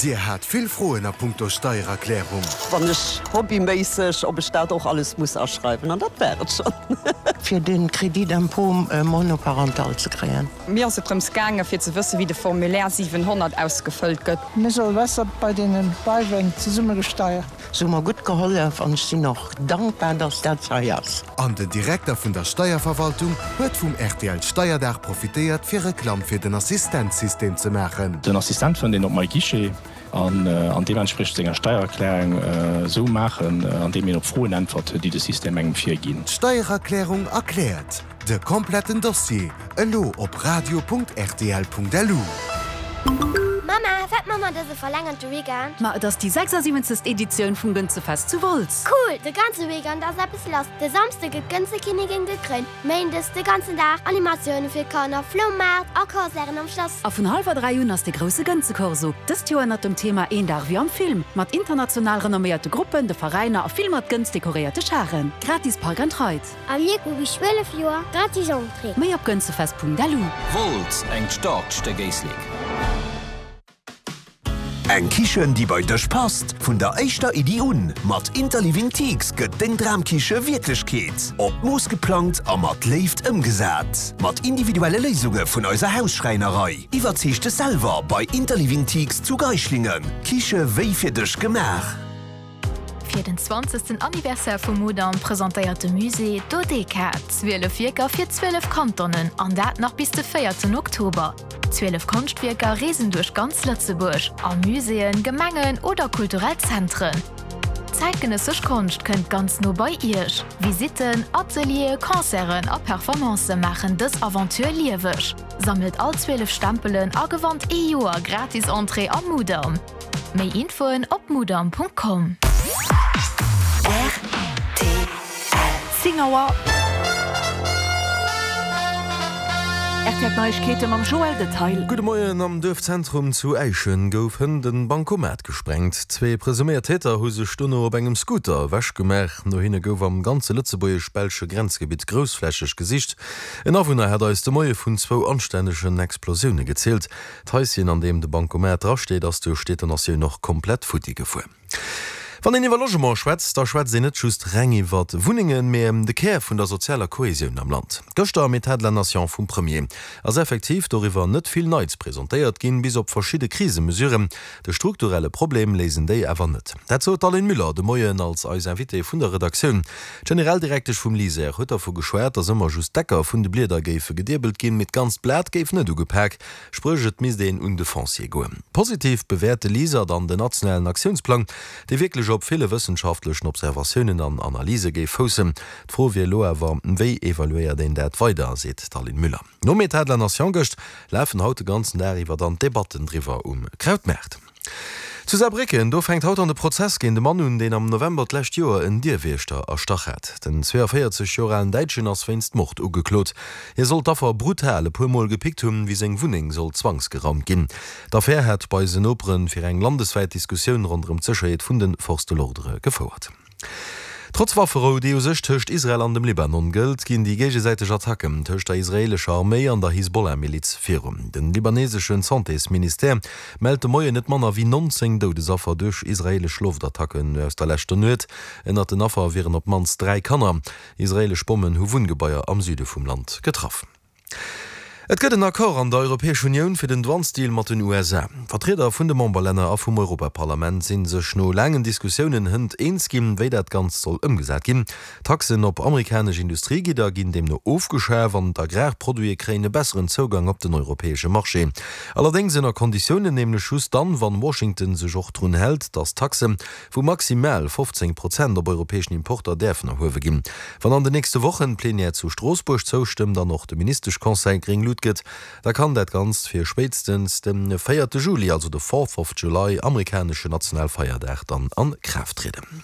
Dir hat vill Froen a punkto Steiererklärung? Wann ech hobbyméisseg, ob ech dat och alles muss aschreiwen, an dat war et schonn. Fir den Crédit d'impôt monoparental ze kréien. Mir ass et drëms gaange fir ze wësse wéi de Formulaire 700 ausgefëllt gëtt. Mir soll besser bei deenen Beiwen zesumme gesteiert. Se hu mer gutt gehollef an ech sinn och dankbar, dass dat hei ass. An den Direkter vun der Steierverwaltung huet vum rtl Steierdag profitéiert fir Reklamm fir den Assistenzsystem ze maachen. Den Assistent fënnt een op MyGuichet an deementspriechend senger Steiererklärung esou maachen, andeem een op Froen äntwert, déi de System engem virginn. D'Steiererklärung erkläert. De kompletten Dossier elo op radio.rtl.lu. Mama, wat man mer dëse verlängerte Weekend? Ma et ass déi 76. Editioun vum Gënzefest zu Wolz. Cool! De ganze Weekend ass eppes lass. De Samsde gëtt d'Gënzekinnigin gekréint, Méindes de ganzen Dag Animatioune fir Kanner, Floumaart a Concerten am Schlass. A vun hallwer 3 un ass de grousse Gënzekorso, dëst Joer ënnert dem Thema Een Dag wéi am Film, mat international renomméierte Gruppen, de Veräiner a vill mat Gënz dekoréierte Charen. Gratis Park and Ride. A mir hu bis 12 Joer gratis Entrée. Méi op gënzefest.lu. Wolz, engt staarkt Stéck Éislek. Eng Kichen, déi bei dech passt, vun der éischter Iddi un. Mat Interliving Teaks gëtt deng Dramkiche Wierklechkeet. Op d'Mooss geplangt a mat Léift ëmgesat. Mat individuelle Léisunge vun eiser Hausschräinerei. Iwwerzeeg dech selwer bei Interliving Teaks zu Geischlingen. Kiche wéi fir dech gemaach. Fir den zwanzegsten Anniversaire vum Mudam presentéiert de Musée Dodeka 12 Wierker fir 12 Kantonen, an dat nach bis de véierten Oktober. 12 Konschtwierker reesen duerch ganz Lëtzebuerg, a Muséeën, Gemengen oder kulturell Zentren. Zäitgenëssesch Konscht kënnt ganz no bei Iech. Visitten, Ateliere, Concerten a Performancë maachen dës Aventure lieweg. Sammelt all 12 Stempelen a gewannt ee Joer gratis Entrée am Mudam. Méi Infoen op mudam.com. Rtl. 10 Auer. Rtl Neiegkeete mam Joël Detail. Gudde Moien, Am Duerfzentrum zu Äischen gouf hënt en Bancomat gesprengt. Zwee presuméiert Täter hu sech dono op engem Scooter ewech gemaach. No hinne gouf am ganze lëtzebuergesch-belsche Grenzgebitt groussflächeg gesicht. En Awunner hat eis de Moie vun zwou anstännegen Explosioune gezielt. D'Haischen, an deem de Bancomat drasteet, ass duerch d'Detonatioun och komplett futti gefuer. Wann een iwwer Logement schwätzt, da schwätzt een net just reng iwwer Wunnengen, mee ëm de Kär vun der sozialer Kohesioun am Land. Gëschter am Etat de la Nation vum Premier ass effektiv doriwwer net vill Neits presentéiert ginn, bis op verschidde Krisemesuren. De strukturelle Problem léisen déi awer net. Dat sot d'Aline Müller de Moien als eis Invitée vun der Redaktioun. D'Generaldirektesch vum LISER huet dervu geschwat, datt ëmmer just d'Ecker vun de Blieder géife gediebelt ginn, mee d'ganzt Blat géif net ugepak. Spréch et misst een un de Foncier goen. Positiv bewäert de LISER dann den nationalen Aktiounsplang, dee wierklech op ville wëssenschaftlechen Observatiounen an Analyse géif foussen. D'Fro wier elo awer, wéi evaluéiert een dat weider, seet d'Aline Müller. Nom Etat de la Nation gëscht lafen haut de ganzen Dag iwwer dann d'Debatten driwwer um Krautmaart. Zu Saarbrécken, do fänkt haut an de Prozess géint e Mann un, deen am November d'lescht Joer en Dierwiechter erstach hat. Den 42 Joer alen Däitschen ass wéinst Mord ugeklot. Hie soll d'Affer brutal e puer Mol gepickt hunn, wéi seng Wunneng sollt zwangsgeraumt ginn. D'Affär hat bei isen Nopere fir eng landeswäit Diskussioun ronderëm d'Sécherheet vun de Forces de l'ordre gefouert. Trotz Wafferou, déi u sech tëscht Israel an dem Libanon gëllt, ginn déi géigesäiteg Attacken tëscht der israeelescher Arméi an der Hisbollah-Miliz virun. Den libaneseschen Santésministère mellt de Moien net manner wéi 19 Doudesaffer duerch israeelesch Loftattacken aus der leschter Nuet. Ënnert den Affer wieren op d'mannst 3 Kanner. Israeelesch Bommen hu Wunngebaier am Süde vum Land getraff. Et gëtt en Accord an der Europäesch Unioun fir den Douanesdeal mat den USA. Vertrieder vun de Memberlänner a vum Europaparlament si sech no laangen Diskussiounen hënt eens ginn, wéi dat Ganzt soll ëmgesat ginn. Taxen op amerikanesch Industriegidder ginn deemno ofgeschaf an d'Agrarproduite kréien e besseren Zougang op den europäesche Marché. Allerdéngs ënner Konditiounen, nämlech just dann, wann Washington sech och drun hält, datt Taxe vu maximal 15 Prozent op europäeschen Importer däerfen erhuewe ginn. Wann an den nächste Wochen d'Plenière zu Stroossbuerg zoustëmmt an och de Ministeschconseil gréng Lut gëtt, da kann dat Ganzt fir spéitstens de véierte Juli, also de Fourth of July, amerikaneschen Nationalfeierdag, dann a Kraaft trieden.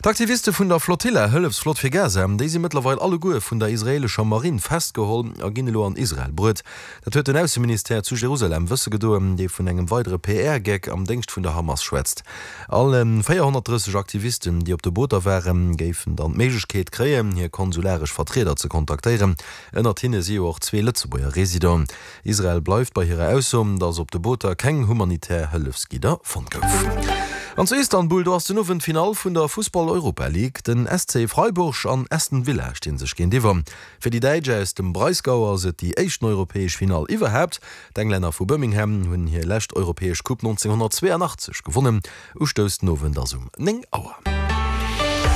D'Aktiviste vun der Flotilla, Hëllefsflott fir Gaza, déi si mëttlerweil alleguer vun der israeelescher Marinn festgeholl a ginn elo an Israel bruet. Dat huet den Ausseministère zu Jerusalem wësse gedoen, dee vun engem weidere PR-Geck am Déngscht vun der Hamas schwätzt. All 430 Aktivisten, déi op de Booter waren, géifen dann d'Méiglechkeet kréien, hir konsularesch Vertrieder ze kontaktéieren. Ënnert hinne si jo och zwee Lëtzebuerger Residenten. Israel bleift bei hirer Ausso, datt op de Booter keng humanitär Hëllefsgidder fonnt gouf. An zu Istanbul, do ass den Owend d'Finall vun der Fussball-Europa League. Den SC Freiburg an Aston Villa sti sech géintiwwer. Fir déi Däitsch aus dem Breisgau ass et déi éischten europäesch Finall iwwerhaapt. D'Englänner vu Birmingham hunn hir lescht europäesch Coupe 1982 gewonnen. Ustouss den Owend ass um 9 Auer.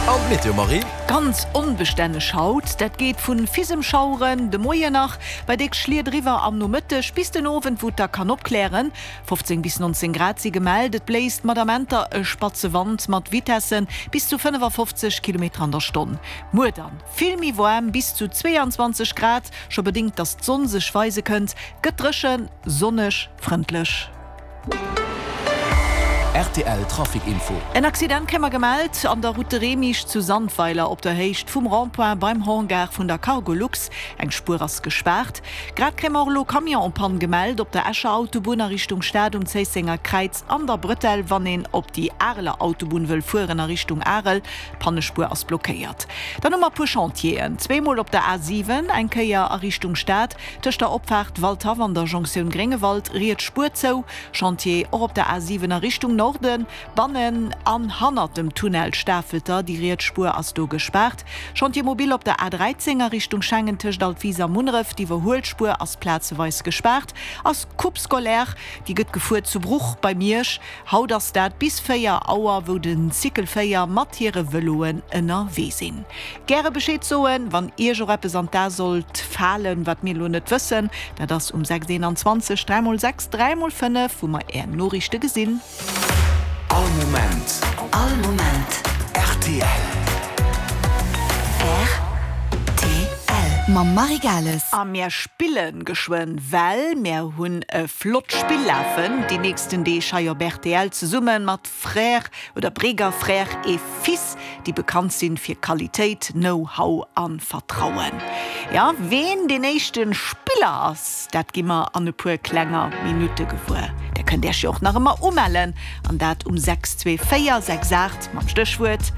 An d'Meteo, Marie? Ganz onbestänneg haut, dat geet vu Fisemschaueren de Moien nach bei déck Schliet eriwwer am Nomëtteg bis den Owend, wou et da kann opklären. 15 bis 19 Grad si gemellt, et bléist mat Amenter e spatze Wand mat Vitesse bis zu 55 Kilometer an der Stonn. Muer dann vill méi waarm, bis zu 22 Grad, scho bedéngt dass d'Sonn sech weise kënnt, gëtt dréchen, sonneg, frëndlech. Rtl Trafic Info. En Accident kréie mer gemellt an der Route de Remich zu Sandweiler op der Héicht vum Rond-point beim Hangar vun der Cargolux. Eng Spuer ass gespaart. Grad kréie mer och elo Camion en panne gemellt op der Escher Autobunn a Richtung Stad um Zéissenger Kräiz an der Bretelle wann een op déi Areler Autobunn wëll fueren a Richtung Arel. D'Pannespuer ass blockéiert. Dann hu mer e puer Chantieren, zweemol op der A7, eng Kéier a Richtung Stad, Tëscht der Opfaart Waldhaff an der Jonktioun Gréngewald, riets Spuer zou. Chantier och op der A7 a Richtung Norden, bannen an hannert dem Tunnel Stafelter, déi riets Spuer ass do gespaart. Chantier mobile op der A13 a Richtung Schengen tëscht Altwis a Munneref, d'Iwwerhuelspuer ass plazeweis gespaart. Ass Coupe scolaire, déi gëtt gefuer zu Bruch bei Miersch. Haut ass dat bis 4 Auer, wou den Cycle 4 mat hire Vëloen ënnerwee sinn. Gäre Bescheed soen, wann Iech och eppes an d'A sollt falen, wat mir elo net wëssen. Dat ass um 6 21 3 mol 6 3 mol 5, wou mer Är Noriichte gesinn. All Moment. All Moment. Rtl. Rtl. Mam Marie Gales. A mär spillen geschwënn, well mär hunn e flott Spill lafen déi nächsten Deeg hei op rtl zesumme mat Frères oder Breger Frères et Fils, déi bekannt sinn fir Qualitéit, Know-how an Vertrauen. Jo, ween deen éischte Spiller ass, dat gi mer an e puer klenger Minutte gewuer. Där kënnt Äech jo och nach ëmmer umellen, an dat um 6 2 4 6 8 mam Stéchwuert.